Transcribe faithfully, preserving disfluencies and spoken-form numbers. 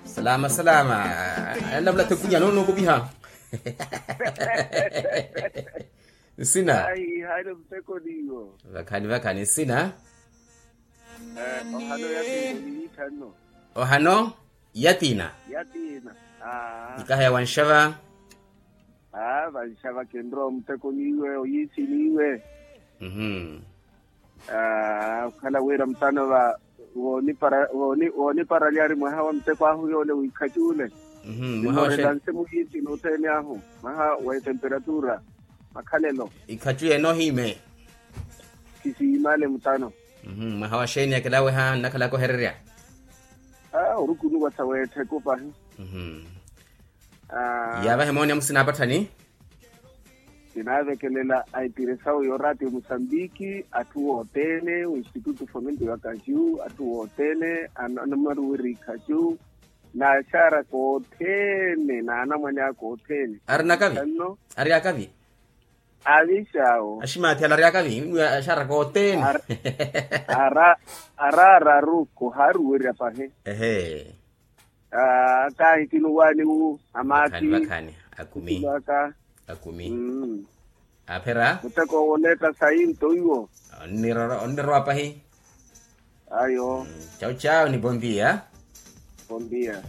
Salama salama. Anamula tekunya nono kupiha. Nsina. Vakhani vakhani nsina. Ohano. Yatiina. Ikaha ya wanxava. Vanxava kenrowa muteko niwe oyisi niwe. Okhala wira mutano va wooniparali ari mwaha wa muteko ahu yoole wiikhaci ole. Nimoorela nse muhiiti n'uthene ahu mwaha wa etemperatura makhalelo. Ikhaci enohiime. Kisiimale mutano. Mwaha wa xeeni akelaweha nnakhalaka ohererya. Orukunuwa sa weettheko pahi. Yaavahe mooni amusinaapathani. Kinaavekelela a itiresawu y'oraatiyo musambiki atthu wothene w'institutu fomento ya kaju atthu wothene anamaruweri kaju n'axaaraka othene n'anamwane aka othene. Ari nakavi? Ari akavi? Avixawo. Aximaathi ala ari akavi axaaraka othene. Araararu ko haaruwerya pahi. Ehe. Kaahitinuwaani wu amaathi. Vakhani akumi. Akumi. Aphera. Muteko woneetta sayi nto iwo. Onnirowa pahi. Ayo. Chau chau ni bondia. Bondia.